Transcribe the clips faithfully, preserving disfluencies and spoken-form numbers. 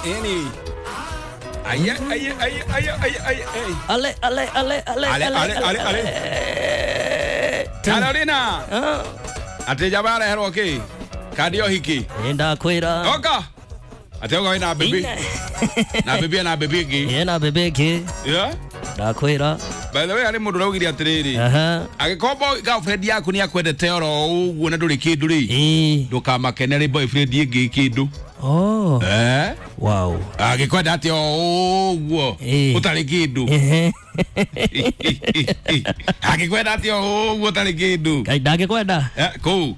Eni. Aye aye aye aye aye aye. Ale ale ale ale Ale ale ale ale. Carolina. Ate jabara hero ki. Kadio hiki. Enda kwira. Oka. Ate oka na baby. Na baby na baby ki. Yeah, na baby ki. Yeah. Ndakwira. By the way, ari mundu raugire atiriri. Aha. Agikorwo girlfriend yaku ni akwendete oro uguo na nduri kindu ri. Eh. Ndukamakenere boyfriend ingi kindu. Oh. Eh? Wow. Agikwenda ati o uguo utari kindu. Agikwenda ati o uguo utari kindu. Ngai ndagikwenda. Eh, kuu.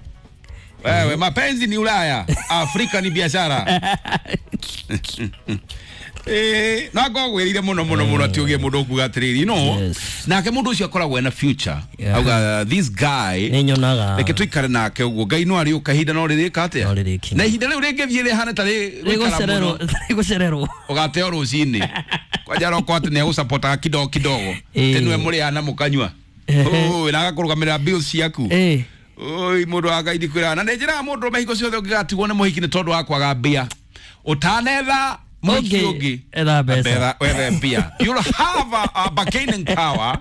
Wewe mapenzi ni Ulaya, Afrika ni biashara. Eh, na ngogwirire muno muno muno ati ugie mundu kuga atiriri no. Yes. Nake mundu ucio akoragwo ena future. Yeah. Auga this guy ni nyonaga. Reke tuikare nake uguo Ngai no ariuka ihinda no ririka atia. No rĩrĩkinya. Na ihinda riu ringithie rihane ta rĩgũcererwo rĩgũcererwo. Ugateo rucini. Kwanja roko ati ni agũsupportaga kidogo kidogo. Tinwe mũrĩana mũkanyua. Oi, na agakurugamirira bills ciaku. Eh. Oi, mundu wa Ngai ndikwĩra. Na nĩ njĩraga mũndũ mehiko ciothe ũngĩgatigwo nĩ mũhiki nĩ tondũ wa kwaga mbia. Ũtanetha mũhiki ũngĩ. Etha mbeca. Wethe mbia. You'll have a, a bargaining power.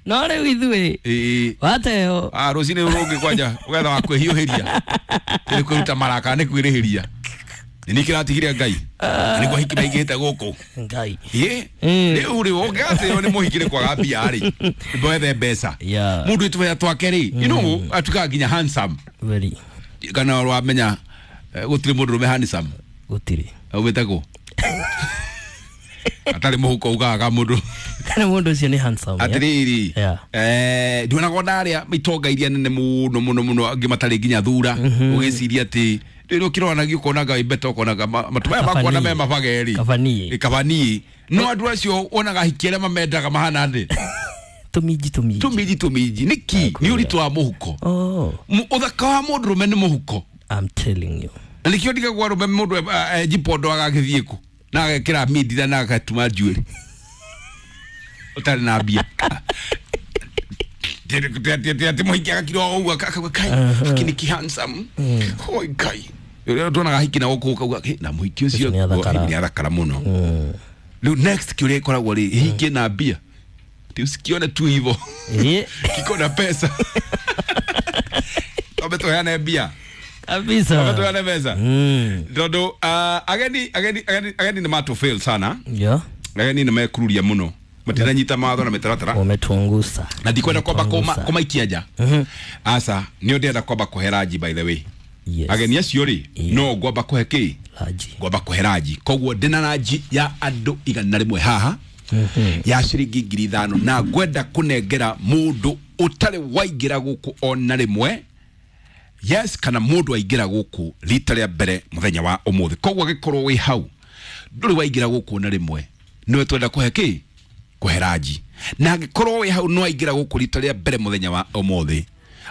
No rĩu ithuĩ. Ĩĩ. Wateo. Ah, rũcinĩ rũngĩ kwanja ũgetha wa kwĩhiũhĩria. Nĩ kwĩruta maraka nĩ kwĩrĩhĩria. Nĩ kĩratigire Ngai. Nĩ kwa hiki maingĩhĩte gũkũ. Ngai. Ĩ. Rĩu rĩ ũngĩgatĩo nĩ mũhiki nĩ kwaga mbia rĩ. Wethe mbeca. Yeah. Mũndũ ĩtũbea twake rĩ. You know, atukaga nginya handsome. Very. Kana wamenya gũtirĩ mũndũ rũme handsome. Gũtirĩ. Wĩtagwo. Atarĩ mũhuko ugaga mũndũ. Kana mũndũ ũcio nĩ handsome. Atiriri. Yeah. Eh, ndionaga ndaria itonga iria nene mũno mũno mũno angĩ matarĩ nginya thura. Ũgĩciria atĩ rĩrĩ ũkĩronagia ũkonaga ibeto ũkonaga matũ maya makuona me mabage rĩ. Kabanie. Kabanie. No andũ acio wonaga hiki arĩa mamendaga mahana thĩ. Tũminji tũminji. Tũminji tũminji. Nĩkĩ? Nĩ ũritũ wa mũhuko. Oh. Ũthaka wa mũndũ rũme nĩ mũhuko. I'm telling you. Na nĩkĩo ndigagwo arũme mũndũ njipondo agagĩthiĩ kũ na agekĩra mindira na agatuma njuĩrĩ ũtarĩ na mbia. Ati mũhiki agakira o ũguo akauga kai haki nĩ handsome. Oi Ngai. Rĩrĩa tuonaga hiki na gũkũ ũkauga na mũhiki ũcio nĩ athakara mũno. Rĩu next kĩũria gĩkoragwo rĩ hiki na mbia. Ti usikione tu hivyo. Kiko na pesa. Tombe tuheane mbia. Kabisa. Tombe tuheane mbeca. Mm. Tondu uh, ageni ageni ageni ageni nĩ matũ fail sana. Yeah. Ageni nĩ mekururia mũno. Matiranyita mawatho na mĩtaratara. Wametuangusa. Na ndikwenda kwamba kũma kũmaikia nja. Mhm. Asa, nĩ ndĩrenda kwamba kũhe ranji by the way. Yes. Ageni acio rĩ, yeah. No ngwamba kũhe kĩ? Ranji. Ngwamba kũhe ranji. Koguo ndĩna ranji ya andũ igana rĩmwe haha. Mm-hmm. Ya ciringi ngiri ithano na ngwenda kũnengera mũndũ ũtarĩ waingĩra gũkũ ona rĩmwe. Yes, kana mũndũ aingĩra gũkũ rita rĩa mbere mũthenya wa ũmũthĩ. Koguo agĩkorwo wĩ hau ndũrĩ waingĩra gũkũ ona rĩmwe, nĩwe twenda kũhe kĩ? Kũhe ranji. Na angĩkorwo wĩ hau no aingĩra gũkũ rita rĩa mbere mũthenya wa ũmũthĩ,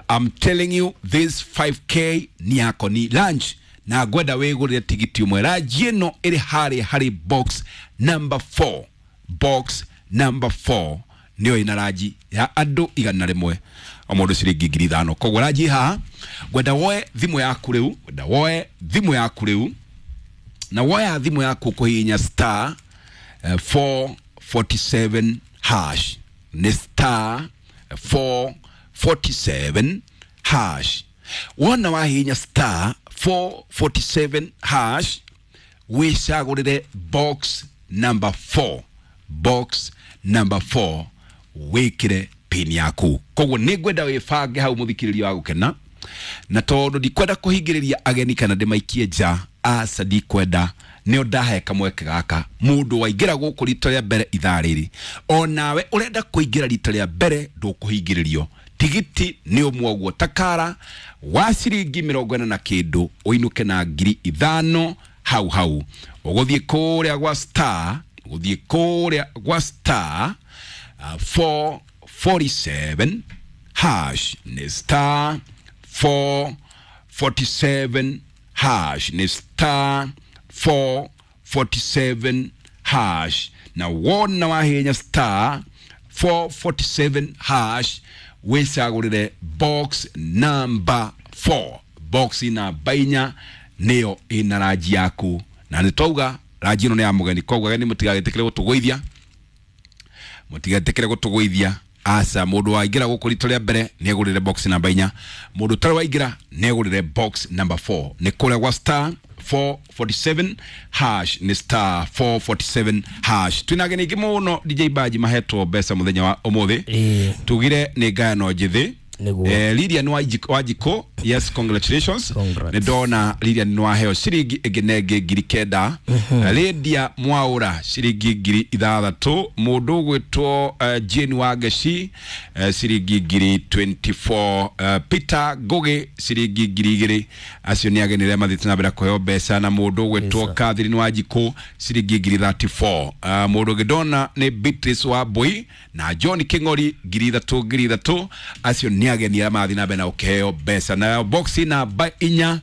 I'm telling you this five K ni yako ni lunch na ngwenda wĩgũrĩre tigiti ũmwe. Ranji ĩno ĩrĩ harĩa harĩ box number four. Box number four nĩyo ĩna ranji ya andũ igana rĩmwe o mũndũ ciringi ngiri ithano. Koguo ranji haha ngwenda woe thimũ yaku rĩu, ngwenda woe thimũ yaku rĩu, na woya thimũ yaku kũhihinya star uh, four forty-seven hash. Nĩ star four forty-seven hash. Wona wahihinya star four forty-seven hash wĩcagũrĩre box number four. Box number four wĩkĩre pin yaku. Koguo nĩ ngwenda wĩbange hau mũthikĩrĩria wa gũkena, na tondũ ndikwenda kũhingĩrĩria ageni kana ndĩmaikie nja, aca ndikwenda, nĩo ndahe kamweke gaka mũndũ waingĩra gũkũ rita rĩa mbere ithaa rĩrĩ, onawe ũrenda kũingĩra rita rĩa mbere ndũkũhingĩrĩrio. Tigiti nĩ ũmwe ũguo takara wa ciringi mĩrongo ĩna na kĩndũ ũinũke na ngiri ithano hau hau. Ũgũthiĩ kũrĩa gwa star, ũgũthiĩ kũrĩa gwa star uh, four forty-seven hash. Nĩ star four forty-seven hash. Nĩ star four forty-seven hash. Na wona wahinya star four forty-seven hash wĩcagũrĩre box number four. Box namba inya nĩyo ĩna ranji yaku na nĩ twauga ranji ĩno nĩ ya mũgeni koguo ageni mũtigagetikĩre gũtũgũithia mũtigetikĩre gũtũgũithia aca mũndũ waingĩra gũkũ rita rĩa mbere nĩ egũrĩre box namba inya mũndũ ũtarĩ waingĩra nĩ egũrĩre box number four nĩ kũrĩa gwa star four forty-seven hash nĩ star four forty-seven hash twĩna ageni aingĩ mũno D J Baji mahetwo mbeca mũthenya wa ũmũthĩ Ĩĩ. tugire nĩ ngayano njĩthĩ Nĩguo. Eh, Lilian Wanjikũ, yes, congratulations. Congrats. Nĩ ndona Lilian nĩ waheo ciringi ĩngĩ na ĩngĩ ngiri kenda. Lydia Mwaura ciringi ngiri ithathatũ. Mũndũ ũgwĩtwo uh, Jane Wangeci uh, ciringi ngiri twenty-four. Uh, Peter Ngugi ciringi ngiri igĩrĩ. Acio nĩ ageni arĩa mathiĩte na mbere kũheo mbeca. Na mũndũ ũgwĩtwo Yes, sir. Catherine Wanjikũ ciringi ngiri thirty-four. Uh, mũndũ ũngĩ ndona nĩ Beatrice Wambui na John King'ori ngiri ithatũ ngiri ithatũ. Acio nĩ ageni arĩa marathiĩ na mbere na gũkĩheo mbeca. Na box namba inya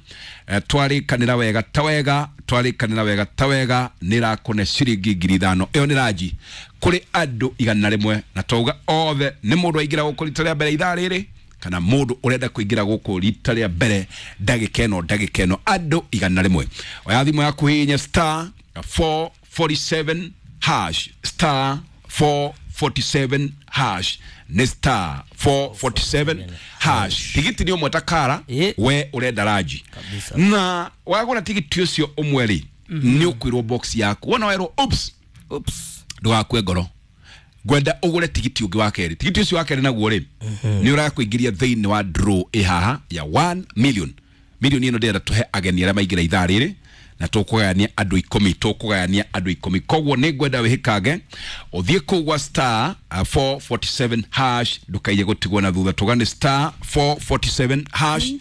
eh, twarĩkanĩra wega ta wega twarĩkanĩra wega ta wega nĩ ĩrakũne ciringi ngiri ithano. Ĩyo nĩ ranji kũrĩ andũ igana rĩmwe na twauga othe nĩ mũndũ aingĩra gũkũ rita rĩa mbere ithaa rĩrĩ kana mũndũ ũrenda kũingĩra gũkũ rita rĩa mbere ndagĩka ĩno ndagĩka ĩno andũ igana rĩmwe. Oya thimũ yaku hihinya star four forty-seven hash star four forty-seven hash nĩ star four forty-seven hash. Tigiti nĩ ũmwe ta kara Ĩ. we ũrenda ranji Kabisa. na wagũra tigiti ũcio ũmwe rĩ nĩ ũkwĩrwo box yaku wona werwo oops Oops. ndũgakue ngoro ngwenda ũgũre tigiti ũngĩ wa kerĩ. Tigiti ũcio wa kerĩ naguo rĩ nĩ ũrakũingĩria thĩinĩ wa draw ĩ haha ya one million. Milioni ĩno ndĩrenda tũhe ageni arĩa maingĩra ithaa rĩrĩ na tũkũgayania andũ ikũmi tũkũgayania andũ ikũmi. Koguo nĩ ngwenda wĩhĩkange ũthiĩ kũu gwa star four forty-seven hash ndũkaiye gũtigwo na thutha. Tũgane star four forty-seven hash.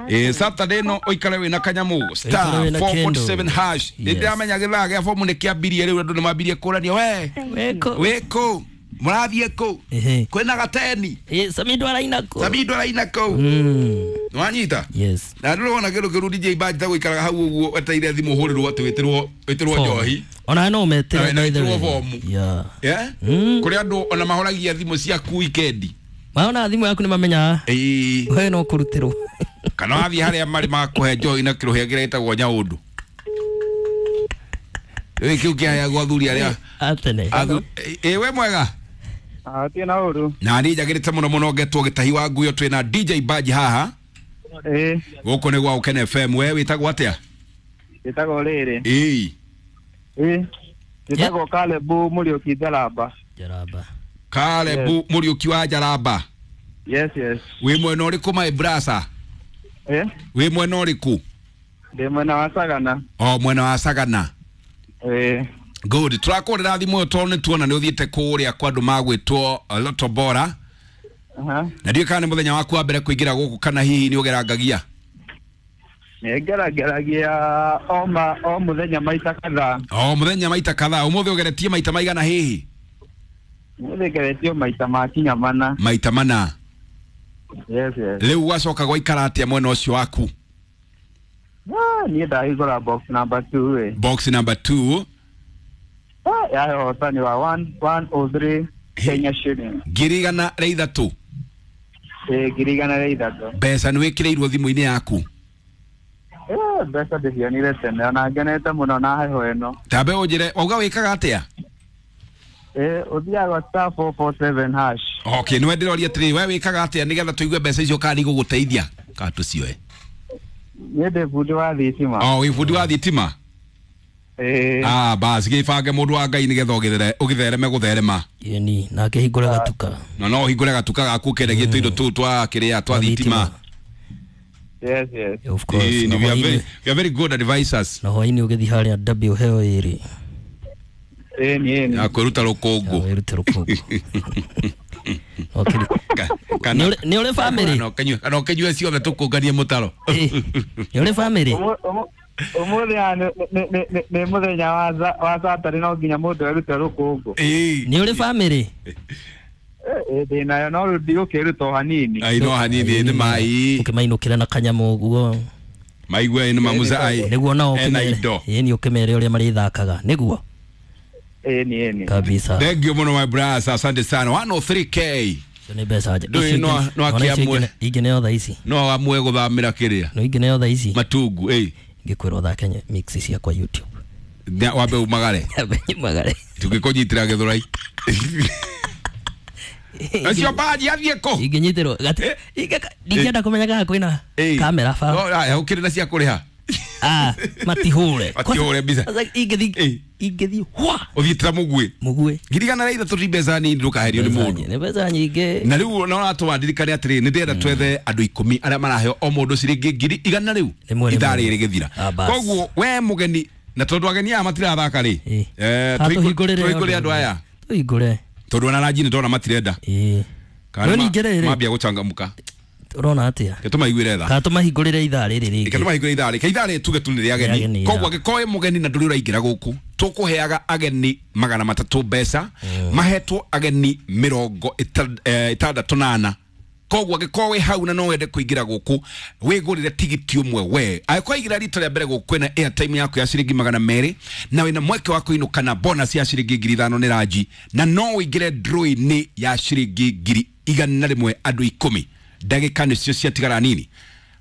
Eh, Saturday no ũikare wĩna kanyamũ star Ũikare wĩna four forty-seven kĩndũ. hash. Yes. Nĩndĩramenya gĩthaa gĩa bomu nĩ kĩambirie rĩu andũ nĩmambirie kũrania we Weko. wĩkũ mũrathiĩ kũ Ehe. kwĩna gateni Eh, Samido araina kũ. Samido araina kũ Mm. nĩwanyita Yes. na ndũrona kĩndũ kĩru D J Baji ta gũikaraga hau ũguo wetereire thimũ ũhũrĩrwo atĩ wĩtĩrwo wĩtĩrwo Form. njohi Ona no metĩre Na- na by the wĩtĩrwo way. bomu. Yeah. Yeah? Mm. Kũrĩ andũ ona mahoragia thimũ ciaku wikendi Maona thimũ yaku nĩ mamenyaga. Ĩĩ. We no kũrutĩrwo. Kana wathiĩ harĩa marĩ makũhe njohi na kĩrũhĩa kĩrĩa gĩtagwo nyaũndũ Ĩ, kĩu kĩheagwo athuri arĩa Atene. athu- ĩ we mwega Atie na ũru. na niĩ njagĩrĩte mũno mũno ngetwo gĩtahi wa nguyo twĩna D J Baji haha Ĩĩ, gũkũ nĩ gwa Ũkene F M. We wĩtagwo atĩa? gĩtagwo rĩrĩ. Ĩĩ. Ĩĩ. Gĩtagwo Caleb Mũriũki Njaramba. Jaraba. Caleb Mũriũki wa Njaramba. Yes, yes. Wĩ mwena ũrĩkũ my brother? Ĩĩ, Wĩ mwena ũrĩkũ? ndĩ mwena wa Sagana. O mwena wa Sagana. Ĩĩ. Good. Tũrakũrĩra thimũ ĩyo tondũ nĩ tuona nĩ ũthiĩte kũrĩa kwa andũ magwĩtwo Lotto Bora. Aha. Na ndiũĩ kana nĩ mũthenya waku wa mbere kũingĩra gũkũ kana hihi nĩ ũgerangagia? Nĩ ngerageragia o ma o mũthenya maita kadhaa. O mũthenya maita kadhaa. Ũmũthĩ ũgeretie maita maigana hihi? Ũmũthĩ ngeretio maita makinya mana. Maita mana. Yes, yes. Rĩu gwacoka gwaikara atĩa mwena ũcio waku? Ah, niĩ ndahingũra box number two ĩ. Box number two. Ah, yahe ũhotani wa one one oh three Kenya shilling. Ngiri igana rĩa ithatũ. Ĩĩ, ngiri igana rĩa ithatũ. Mbeca nĩ wĩkĩrĩirwo thimũ-inĩ yaku? Eh, mbeca ndĩcionire tene ona ngenete mũno na heho ĩno. Tambe ũnjĩre wauga wĩkaga atĩa? Eh, ũthiaga star four four seven hash. Okay, nĩwe ndĩroria atĩrĩrĩ we wĩkaga atĩa nĩgetha tũigue mbeca icio kana nĩigũgũteithia kana tũcioe? Niĩ ndĩ bundi wa thitima. Oh, wĩ bundi wa thitima? Ĩĩ. Ah, basi gĩbange mũndũ wa Ngai nĩgetha ũgĩthere ũgĩthereme gũtherema. Yeni nake hingũre gatuka. Na no ũhingũre gatuka gaku ũkendagie tũindo tũu twa kĩrĩa twa thitima. Yes, yes. Of course. Ĩĩ, Na we are very hwainĩ we are very good advisors. na hwainĩ ũgĩthiĩ harĩa W heo ĩrĩ. Ĩĩ, nĩ ĩĩ. Ya kwĩruta rũkũngũ. Wĩrute rũkũngũ. Okay. Ka- kana Nĩ ũrĩ- nĩ ũrĩ family? kana ũkĩnyue kana ũkĩnyue ciothe tũkũnganie mũtaro. Ĩ, nĩ ũrĩ family? Ũmũ- ũmũ- Ũmũthĩ haha nĩ nĩ- nĩ- nĩ- nĩ mũthenya wa za- wa Saturday no nginya mũndũ erute rũkũngũ. Ĩĩ. Nĩ ũrĩ family? Eh, eh, ndĩ nayo no rĩu ndigũkĩruta o hanini. Ai no hanini nĩ mai. Ũkĩmainũkĩra na kanyamũ ũguo. Maigue nĩ mamuza ai. Nĩguo nao Ena ũkĩmere. indo. Ĩĩ nĩ ũkĩmere ũrĩa marĩthakaga. Nĩguo. Ĩĩ, nĩ ĩĩ, nĩ. Kabisa. Thank you mũno my brother, asante sana. one oh three K. Icio nĩ mbeca nje. Ndũĩ Icio no- ingĩ- no ona icio akĩamue. ingĩ- ingĩ nĩyo thaa ici. No amue gũthamĩra kĩrĩa No ingĩ nĩyo thaa ici. matungu ĩ. Ngĩkwĩra ũthake mix ciakwa YouTube. Na wambe umagare. Nyambe nyumagare. Tũngĩkũnyitĩra gĩthũrai. Acio baji athiĩ kũ? Ingĩnyitĩrwo gati Eh. ingĩka- ndingĩenda kũmenya kana kwĩna Eh. kamera ba. No, aya, ũkĩrĩ na cia kũrĩha. Ah, matihũre. Matihũre mbica. Kwanza ingĩthiĩ Eh. ingĩthiĩ hwa Ũthiĩte ta mũguĩ. mũguĩ. Ngiri igana rĩa ithatũ ti mbeca nini ndũkaherio nĩ mũndũ. Nĩ mbeca nyingĩ. Na rĩu no ratũma ndirikane atĩrĩ nĩ ndĩrenda twethe andũ ikũmi arĩa maraheo o mũndũ ciringi ngiri igana rĩu Rĩmwe ithaa rĩmwe. rĩrĩ gĩthira. Ah, bas. Koguo we mũgeni na tondũ ageni aya matirathaka rĩ Eh. eh, Kana tũhingũ- tũhingũrĩre tũhingũre andũ aya Tũhingũre. tondũ ona ranji nĩ ndona matirenda. Ĩĩ. Kana No ma- ningĩ rĩrĩ mambia gũcangamũka. ũrona atĩa? Reke tũmaiguĩre tha. Kana tũmahingũrĩre ithaa rĩrĩ Reke rĩngĩ. tũmahingũre ithaa rĩ. Ke ithaa rĩ tuge tu nĩ rĩa Rĩa ageni. ageni, Koguo ya. angĩkorwo wĩ mũgeni na ndũrĩ ũraingĩra gũkũ tũkũheaga ageni magana matatũ mbeca mahetwo ageni mĩrongo ĩta- eh, ĩtandatũ na ana. Koguo angĩkorwo wĩ hau na no wende kũingĩra gũkũ wĩgũrĩre tigiti ũmwe we. Angĩkorwo waingĩra rita rĩa mbere gũkũ kwĩna airtime yaku ya ciringi magana merĩ na wĩna mweke wa kũinũka na bonus ya ciringi ngiri ithano nĩ ranji na no ũingĩre draw-inĩ ya ciringi ngiri igana rĩmwe andũ ikũmi. Ndagĩka nĩcio ciatigara nini.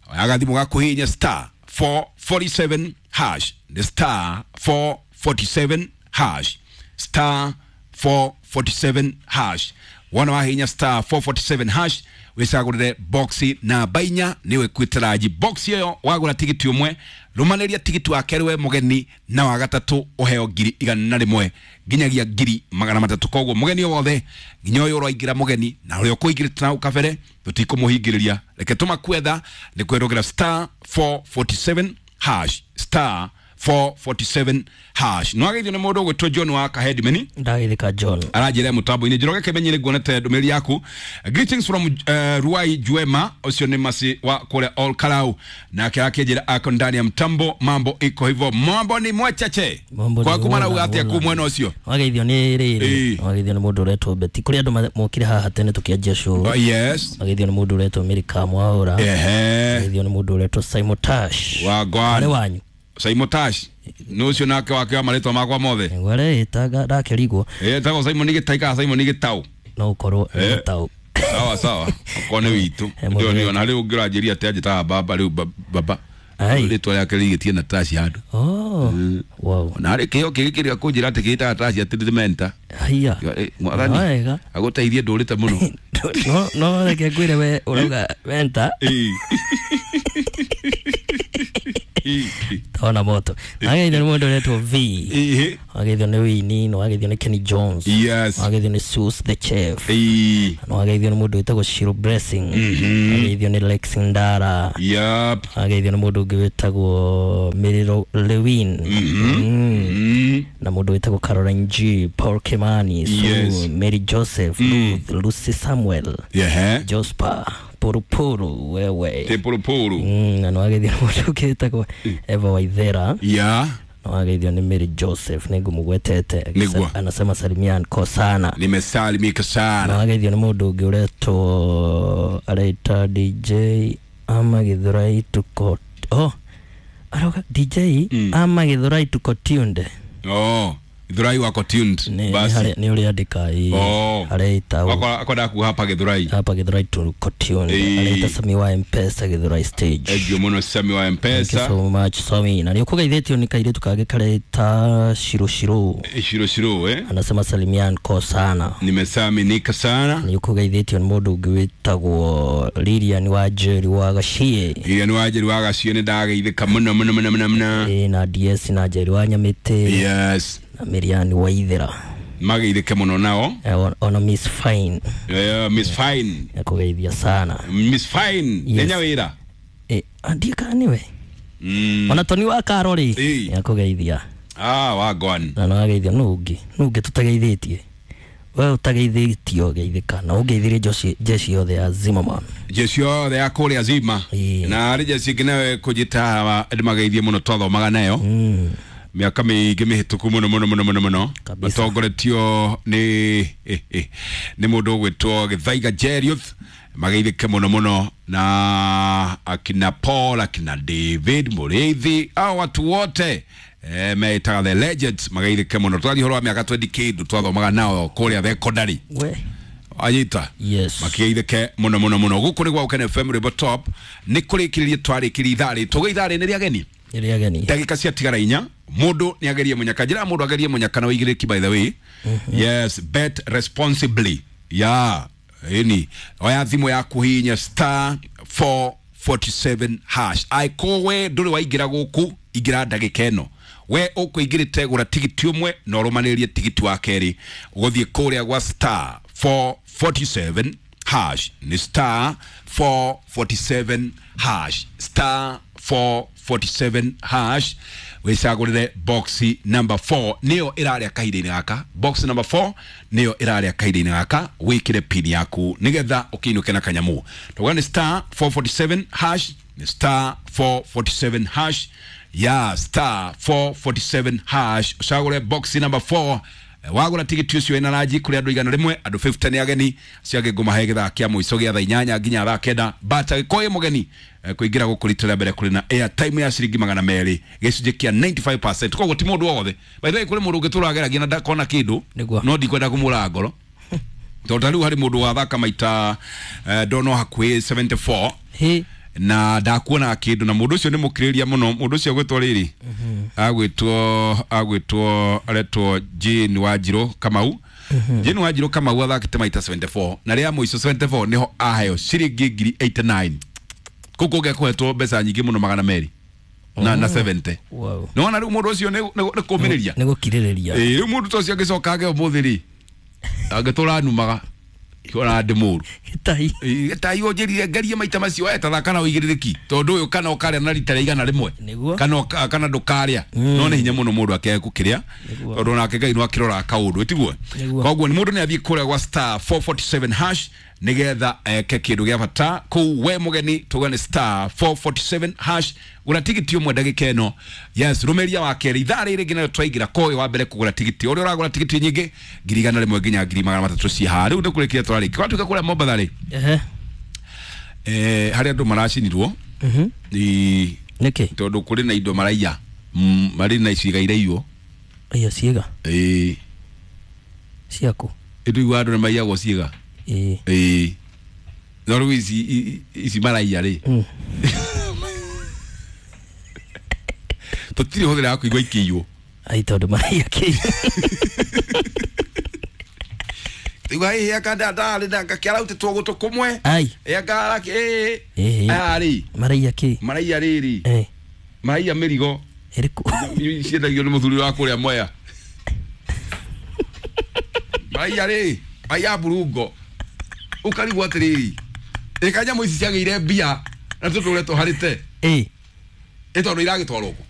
Agathimũ gakuhihinya star four forty-seven hash the star four forty-seven hash star four forty-seven hash wona wahihinya star four forty-seven hash wicagũrĩre boxi namba inya nĩwe ĩkuĩte ranji. Boxi ĩyo wagũra tigiti ũmwe rũmanĩria tigiti wa kerĩ we mũgeni na wa gatatũ ũheo ngiri igana rĩmwe nginyagia ngiri magana matatũ. Koguo mũgeni o wothe nginya ũyũ ũraingĩra mũgeni na ũrĩa ũkũingĩrĩte na hau kabere tũtikũmũhingĩrĩria. Reke tũmakwetha nĩ kwĩrũgĩra star four forty-seven hash star four forty-seven hash. No ageithio nĩ mũndũ ũgwĩtwo John wa Kahedimeni. Ndagĩthĩka John. Aranjĩra mũtambo-inĩ Njoroge Kĩmenyi nĩ nguonete ndũmĩrĩri yaku. Greetings from uh, Ruai Juema ũcio nĩ masi wa kũrĩa Ol Karau nake akĩnjĩra ako ndani ya mtambo mambo iko hivyo mambo ni mwachache. Mambo ni Kwaku marauga wona, atĩa wona. kuu mwena ũcio? Wageithio nĩ rĩrĩ. Ĩĩ. Wageithio nĩ mũndũ ũretwo Betty. Kũrĩ andũ ma- mokire haha tene tũkĩanjia show. Oh, yes. Wageithio nĩ mũndũ ũretwo Mary Kamwaũra. Ehe. Wageithio nĩ mũndũ ũretwo Simon Tash. Wagwan. Arĩ wanyu. Simon Tash nĩ ũcio nake wake wa marĩtwa makwa mothe. Nĩguo areĩtaga ndakĩrigwo Etagwo Simon Gĩtai kana Simon Gĩtau. no ũkorwo Eh. nĩ Gĩtau. Sawa sawa. Okorwo nĩ witũ. Eh, mũndũ Ndio ona rĩu ũngĩranjĩria atĩ anjĩtaga baba rĩu ba- baba. Ai. Rĩtwa rĩake rĩgĩtie na Tash handũ. Oh. Wow. Na harĩ kĩheo kĩngĩ kĩrĩa kũnjĩra atĩ kĩĩtaga Tash atĩ nĩ menta. Haiya. Mwathani Wega. agũteithie ndũrĩte mũno. No no reke ngwĩre we ũrauga menta Ĩĩ. Ĩĩ. tona moto. Wageithio nĩ mũndũ ũretwo V. Ĩĩ. Wageithio nĩ Winnie, wageithio nĩ Kenny Jones. Yes. Wageithio nĩ Sus the Chef. Ĩĩ. Wageithio nĩ mũndũ wĩtagwo Shiro Blessing. Wageithio nĩ Lex Ndara. Yep. Wageithio nĩ mũndũ ũngĩ wĩtagwo Miriro Lewin. Mm. Mm. Na mũndũ wĩtagwo Caroline G, Paul Kimani, Sue, Yes. Mary Joseph, Ruth, Lucy Samuel, Ehe. Jospa, Purupuru wewe. Te purupuru. Mm, na nĩwageithio nĩ mũndũ ũngĩ wĩtagwo Eva Waithera. Yeah. Wageithio nĩ Mary Joseph nĩ ngũmũgwetete. Nĩguo. Anasema salimia nko sana. Nimesalimika Na sana. wageithio nĩ mũndũ ũngĩ ũretwo areita D J ama Gĩthũrai tuko oh arauga D J ama Gĩthũrai tuko tuned. Oh, Gĩthũrai wako tuned. Nĩ Basi. nĩ harĩa- nĩ ũrĩa andĩka ĩ Oh. areita ũũ. Akwa akwa kuga hapa Gĩthũrai. Hapa Gĩthũrai tuko tuned. Ĩĩ. Areita Sami wa M-Pesa Gĩthũrai stage. Thank you mũno Sami wa Thank you M-Pesa. so much Sami. Na nĩ ũkũgeithĩtio nĩ kairĩtu kangĩ kareita Shiro Shiro. Shiro Shiro eh. Anasema salimia nko sana. Nimesalimika sana. Nĩ ũkũgeithĩtio nĩ mũndũ ũngĩ wĩtagwo Lilian wa Njeri wa Gaciĩ. Lilian wa Njeri wa Gaciĩ nĩ ndageithĩka mũno mũno mũno mũno mũno. Ĩ na D S na Njeri wa Nyamĩtĩ Yes. na Miriam wa Ithera. Mageithĩke mũno nao. Eh, on- ona Miss Fine Eh, Miss Fine. akũgeithia sana. Miss Fine. Yes. Nĩ nyawĩra. Ĩ ndiĩ kana nĩwe. Mm. Ona Toni wa Karo rĩ Ĩ. nĩakũgeithia. Ah, wagwan. Na nĩwageithia nũ ũngĩ nũ ũngĩ tũtageithĩtie. We ũtageithĩtio geithĩka na ũngeithirie jeshi jeshi yothe ya Zimmerman. Jeshi yothe ya kũrĩa Zima. Ĩ. Na harĩ jeshi ĩngĩ nayo ĩkũnjĩta haha ndĩmageithie mũno twathomaga nayo. Mm. Mĩaka mĩingĩ mĩhĩtũku mũno mũno mũno mũno mũno. Kabisa. Matongoretio nĩ eh, eh, nĩ mũndũ ũgwĩtwo Gĩthaiga Jeriuth. Mageithĩke mũno mũno na akina Paul, akina David Mũrĩithi, hao watu wote eh, meĩtaga the legends mageithĩke mũno. Twathi ũhoro wa mĩaka twenty kĩndũ twathomaga nao kũrĩa thekondarĩ. We. Anyita. Yes. Makigeithĩke mũno mũno mũno. Gũkũ nĩ gwa Ũkene F M Rwĩmbo Top. Nĩ kũrĩkĩrĩria twarĩkĩria ithaa rĩ. Tũgĩ ithaa rĩ nĩ rĩa ageni. Ĩrĩa ageni. Ndagĩka ciatigara inya mũndũ nĩ agerie mũnyaka njĩra mũndũ agerie mũnyaka na wĩigĩrĩki by the way. Yes, bet responsibly. Ya ĩni oya thimũ yaku hihinya star four forty-seven hash. Aĩkorwo we ndũrĩ waingĩra gũkũ ingĩra ndagĩka ĩno we ũkũingĩrĩte gũra tigiti ũmwe na ũrũmanĩrĩrie tigiti wa kerĩ ũgũthiĩ kũrĩa gwa star four forty-seven hash ni star four forty-seven hash star four forty-seven hash wicagũrĩre box number four nĩyo ĩrarĩa kahinda-inĩ gaka. Box number four nĩyo ĩrarĩa kahinda-inĩ gaka wĩkĩre pin yaku nĩgetha ũkĩinũke na kanyamũ. Tauga nĩ star four forty-seven hash ni star four forty-seven hash ya star four forty-seven hash ũcagũre box number four. Wagũra tigiti ũcio wĩna ranji kũrĩ andũ igana rĩmwe andũ fifty nĩ ageni acio angĩ ngũmahe gĩthaa kĩa mũico gĩa thaa inyanya nginya thaa kenda. But angĩkorwo wĩ mũgeni kũingĩra gũkũ rita rĩa mbere kũrĩ na airtime ya ciringi magana merĩ gĩcunjĩ kĩa ninety-five percent. Koguo ti mũndũ wothe by the way kũrĩ mũndũ ũngĩ tũrageragia na ndakona kĩndũ no ndikwenda kũmũraga ngoro tondũ ta rĩu harĩ mũndũ wathaka maita ndona hakuhĩ seventy-four na ndakuona kindu na mundu ucio ni mukiriria muno mundu ucio gwitwo riri agwitwo agwitwo aretwo Jane Wanjiru Kamau. Jane Wanjiru Kamau athakite maita seventy-four na ria muico seventy-four niho aheo ciringi ngiri eighty-nine kuko ngekuhetwo mbeca nyingi muno magana meri na na seventy. Wow. Nona riu mundu ucio ni kumiriria ni gukiririria eh riu mundu ucio angicoka age umuthi ri angitura numaga ona ndi muru gitai gitai unjirire ngarie maita macio etathaka kana uigiririaki tondu uyu kana ukaria na rita igana rimwe kana kana ndukaria no ni hinya muno mundu akeye gukiria tondu nake Ngai no akirora kaundu tiguo. Koguo ni mundu ni athie kuria gwa star four forty-seven hash nigetha eke kindu gia bata kuu we mugeni tugane star four forty-seven hash gura tigiti umwe ndagika ino. Yes, rumeria wa keri ithaa riri nginya twaingira koyo wa mbere kugura tigiti uria uragura tigiti nyingi ngiri igana rimwe nginya ngiri magana matatu ci haha riu ndikurikia twariki kwatuka kuria Mombatha ri ehe eh hari andu maracinirwo mhm ni niki tondu kuri na indo maraiya mari na iciga iraiywo iyo ciiga eh ciaku ituigua andu ni maiyagwo ciiga eh eh no riu ici ici maraiya ri tutiri huthira kuigua ikiywo ai tondu maraiya ki igua ĩ aka ndarĩ na ngakĩarautĩtwo gũtũ kũmwe ai ĩ aka ĩ ĩ aya rĩ maraiya ki maraiya rĩrĩ eh maraiya mĩrigo ĩrĩkũ ciendagio nĩ mũthuri wa kũrĩa Mwea maraiya rĩ maraiya mburungo ũkarigwo atĩrĩrĩ ĩka nyamũ ici ciagĩire mbia na tũtũre tũharĩte ĩ ĩ tondũ iragĩtwarwo kũ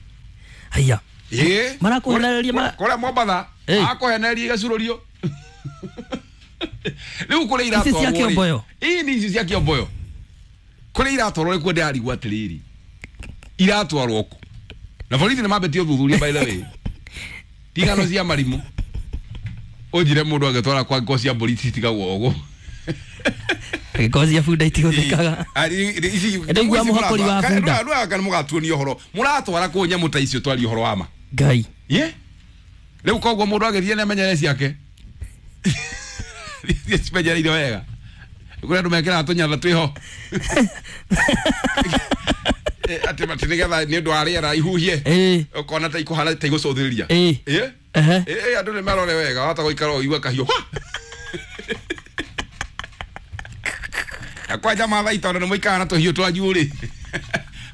haiya ĩ marakũhenereria kũrĩa Mombatha akũhenereria igacurũrio riu kũrĩa iratwarwo ici cia Kĩomboyo ĩ ni ici cia Kĩomboyo kũrĩa iratwarwo rĩ kuo ndĩrarigwo atĩrĩrĩ iratwarwo kũ na borithi nĩ mambĩtie ũthuthuria by the way tigano cia marimũ ũnjire mũndũ angĩtwara kwa ngo cia mbũri citigagwo ũguo ngoo cia bunda itigũthĩkaga ndĩigua mũhakũri wa bunda kana mũgatuonia ũhoro mũratwara kũ nyamũ ta icio twarie ũhoro wa ma Ngai ye rĩu koguo mũndũ agĩthiĩ nĩ amenyere ciake cimenyereire wega kũrĩ andũ mekĩraga tũnyatha twĩho atĩ atĩ nĩgetha nĩ ũndũ wa rĩera ihuhie ũkona ta ikũhana ta igũcũthĩrĩria ĩ ĩ andũ nĩ marore wega wahota gũikara ũigue kahiũ kwanja mathai tondũ nĩ mũikaraga na tũhiũ twanyu rĩ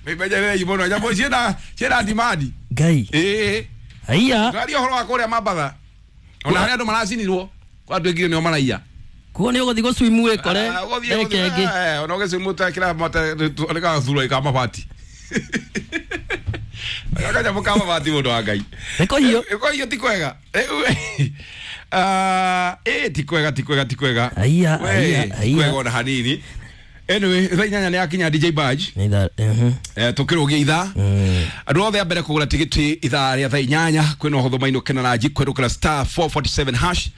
mĩmenyererei mũno nyamũ ciĩna ciĩna demand Ngai ĩ haiya twaria ũhoro wa kũrĩa Mambatha ona harĩa andũ maracinirwo kwa andũ aingĩ nĩo maraiya kuo nĩ ũgũthiĩ gũswimu wĩkore ndagĩka ĩngĩ ona ũgĩswimu ta kĩra nĩgagathurwo ka mabati kanyamũ ka mabati mũndũ wa Ngai nĩ kũhiũ kũhiũ ti kwega ĩ ti kwega ti kwega ti kwega haiya haiya ti kwega ona hanini. Anyway thaa inyanya nĩ yakinya D J Badge nĩ ithaa eh tũkĩrũgia ithaa andũ othe a mbere kũgũra tigiti ithaa rĩa thaa inyanya kwĩna ũhũthũ mainũke na ranji kwerũkĩra star four forty-seven hash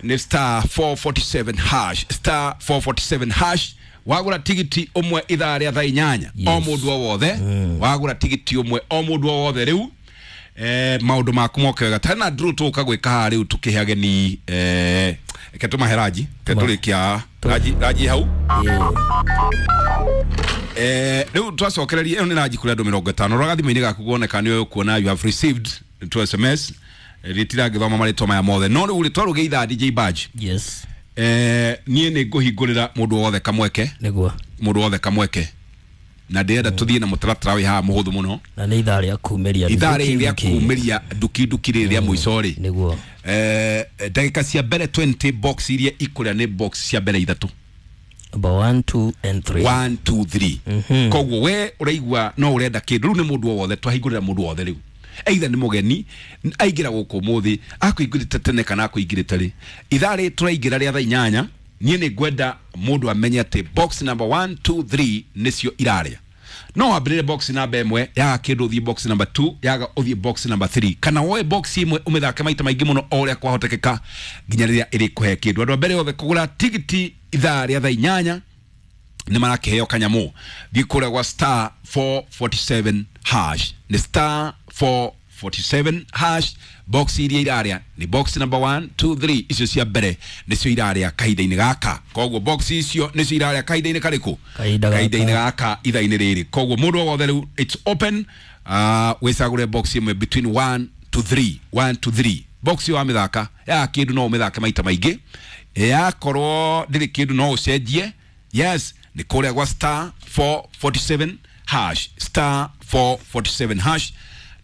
ni star four forty-seven hash star four forty-seven hash wagura tigiti umwe ithaa rĩa thaa inyanya o mũndũ o wothe wagura tigiti umwe o mũndũ o wothe rĩu eh maundu maku moke wega tena draw tuka gwika haha riu tukihe ageni eh ke tumahe ranji ke turikia ranji ranji hau Eh, rĩu twacokereria ĩyo nĩ ranji kũrĩ andũ mĩrongo ĩtano. Rora thimũ-inĩ gaku kuoneka nĩ ũkuona you have received two S M S. Rĩtirangĩthoma marĩtwa maya mothe, no rĩu rĩ twarũgĩa ithaa, D J Badge, Yes. eh, niĩ nĩ ngũhingũrĩra mũndũ wothe kamweke. Nĩguo. Mũndũ wothe kamweke, na ndĩrenda tũthiĩ na mũtaratara wĩ haha mũhũthũ mũno. Na nĩ ithaa rĩa kumĩria. Ithaa rĩrĩ nduki, rĩa nduki. Kumĩria nduki nduki rĩrĩ rĩa mũico rĩ, Nĩguo. eh, ndagĩka cia mbere mĩrongo ĩrĩ, box iria ikũrĩa nĩ box cia mbere ithatũ. Number one, two and three. one, two, three. Koguo we ũraigua no ũrenda kĩndũ rĩu, nĩ mũndũ o wothe twahingũrĩra, mũndũ wothe rĩu, either nĩ mũgeni aingĩra gũkũ ũmũthĩ, akũingĩrĩte tene kana akũingĩrĩte rĩ, ithaa rĩ tũraingĩra rĩa thaa inyanya, niĩ nĩ ngwenda mũndũ amenye atĩ box number one, two, three nĩcio irarĩa. No wambĩrĩre box number ĩmwe, yaga kĩndũ ũthiĩ box number two, yaga ũthiĩ box number three, kana woe box ĩmwe ũmĩthake maita maingĩ mũno o ũrĩa kwahotekeka nginya rĩrĩa ĩrĩkũhe kĩndũ. Andũ a mbere othe kũgũra tigiti ithaa rĩa thaa inyanya nĩ marakĩheo kanyamũ. Thiĩ kũrĩa gwa star four forty-seven hash, nĩ star four forty-seven hash. Box iria irarĩa nĩ box number one, two, three, icio cia mbere nĩcio irarĩa kahinda-inĩ gaka. Koguo box icio nĩcio irarĩa kahinda-inĩ karĩkũ? Kahinda gaka. Kahinda-inĩ gaka, ithaa-inĩ rĩrĩ. Koguo mũndũ o wothe rĩu, it's open, uh, wĩcagũre box ĩmwe between one to three, one to three. Box ĩyo wamĩthaka, yaga kĩndũ no ũmĩthake maita maingĩ, yakorwo ndĩrĩ kĩndũ no ũcenjie. Yes, nĩ kũrĩa gwa star four forty-seven hash, star four forty-seven hash.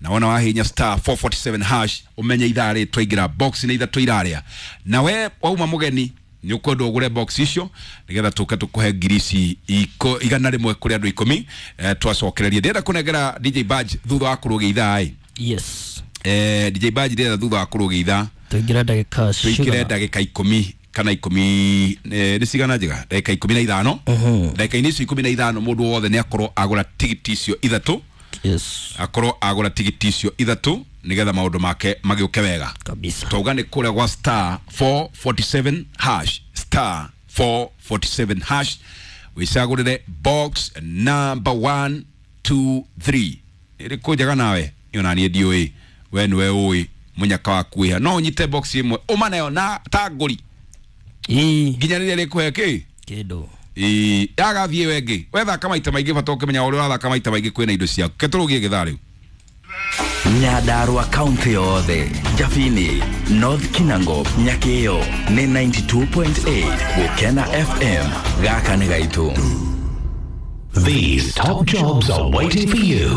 Na wona wahinya star four forty-seven hash, ũmenye ithaa rĩ twaingĩra, box nĩ ithatũ irarĩa. Na we wauma mũgeni, nĩ ũkwenda ũgũre box icio nĩgetha tũke tũkũhe ngiri ici iko- igana rĩmwe kũrĩ andũ ikũmi. eh, twacokereria ndĩrenda kũnengera D J Badge thutha wa kũrũgia ithaa ĩ. Yes. eh, D J Badge, ndĩrenda thutha wa kũrũgia ithaa tũingĩre ndagĩka tũingĩre cigana? Ndagĩka ikũmi kana ikũmi, eh, nĩ cigana njega? Ndagĩka ikũmi na ithano. Ndagĩka-inĩ icio ikũmi na ithano, mũndũ wothe nĩ akorwo agũra tigiti icio ithatũ. Yes. Akorwo agũra tigiti icio ithatũ nĩgetha maũndũ make magĩũke wega. Kabisa. Twauga nĩ kũrĩa gwa star four forty-seven hash, star four forty-seven hash, wĩcagũrĩre box number one, two, three. Ĩrĩkũ njega nawe ĩyo na niĩ ndiũĩ, we nĩwe ũĩ mũnyaka waku wĩha. No ũnyite box ĩmwe ũma nayo na ta ngũri Ii. nginya rĩrĩa rĩkũhe kĩ. Kĩndũ. Ĩĩ, yagathiĩ ĩyo ĩngĩ wethaka maita maingĩ, bata ũkĩmenya ũrĩa ũrathaka maita maingĩ kwĩna indo ciaku. Ke tũrũgie gĩthaa rĩu. Nyandarua kaunti yothe, Jabini, North Kinango, Nyakio nĩ ninety-two point eight Gukena F M. Gaka nĩ gaitũ. These top jobs are waiting for you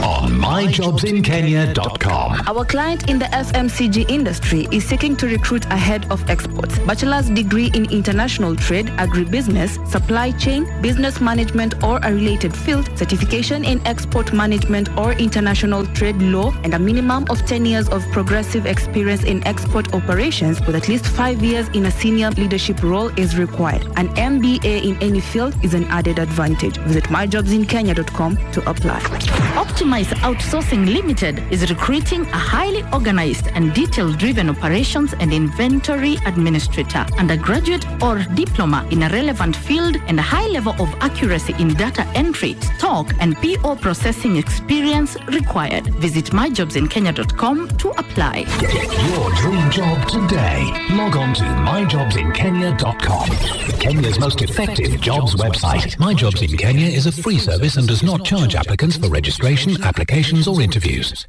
on my jobs in kenya dot com. Our client in the F M C G industry is seeking to recruit a head of exports, bachelor's degree in international trade, agribusiness, supply chain, business management or a related field, certification in export management or international trade law, and a minimum of ten years of progressive experience in export operations with at least five years in a senior leadership role is required. An M B A in any field is an added advantage. Visit my jobs in kenya dot com to apply. Optimize Outsourcing Limited is recruiting a highly organized and detail-driven operations and inventory administrator, undergraduate or diploma in a relevant field, and a high level of accuracy in data entry, stock and P O processing experience required. Visit my jobs in kenya dot com to apply. Get your dream job today. Log on to my jobs in kenya dot com. Kenya's most effective jobs website. My Jobs in Kenya is a free service and does not charge applicants for registration, applications, or interviews.